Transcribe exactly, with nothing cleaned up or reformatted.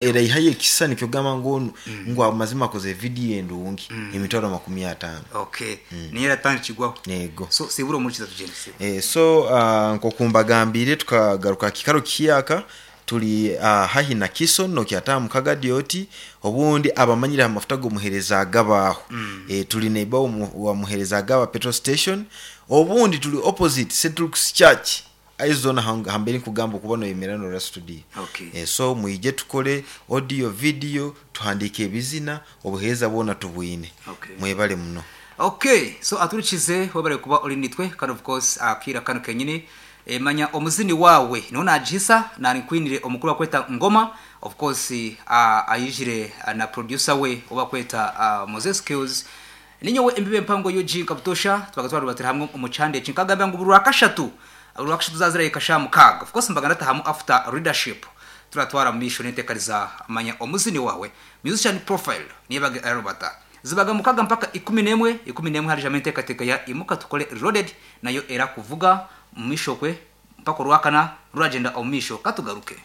Eraihayo ekisisani kyogamba ngu onu ngu amazima akoze vidiyo endungi, emitwaro makumi ataano. Okay, niyo eratandikirwaho. Ego. So sibura omurikiza, tugyende, sibura. Eh, so uh, nkokumbagambire, tukagaruka aha kikaro kiyaka, turi uh, hahi na Kison nokyataha mukagadi oti obundi abamanyire amafuta g'omuhereza agabaaho mm. eh, tuli neighbor wa muhereza agaba petrol station, obundi tuli opposite Saint Luke's Church aizona hambere nkugamba okuba noyemera norora studio. Okay. Eh, so mwije tukore audio, video, tuhandike ebizina, obuheereza bwona tubwine. Okay. Mwebale muno. Okay, so aturikize, webale kuba ori nitwe, kandi of course akira kano kenyini e, manya omuzini wawe niho nagihisa nari nkwinire omukuru wakweta Ngoma, of course uh, ayijire uh, na producer we obakweta uh, Moses Skills. Ninyowe embibe mpango yuji nkabutosha tubaga twarubatira hamwe omu chande eki, nkagamba ngu buri rwakashatu buri rwakashatu zazira ikasha mukaga, of course mbaga ndatahamu after leadership, turatwara mu misho n'enteekaniza manya omuzini wawe, musician profile, niyo arubata zibaga mukaga mpaka ikumi n'emwe. Ikumi n'emwe harijamo enteekateeka ya Imuka Tukore Reloaded, nayo era kuvuga mu misho kwe mpaka orwakana ruragenda omu misho. Katugaruke.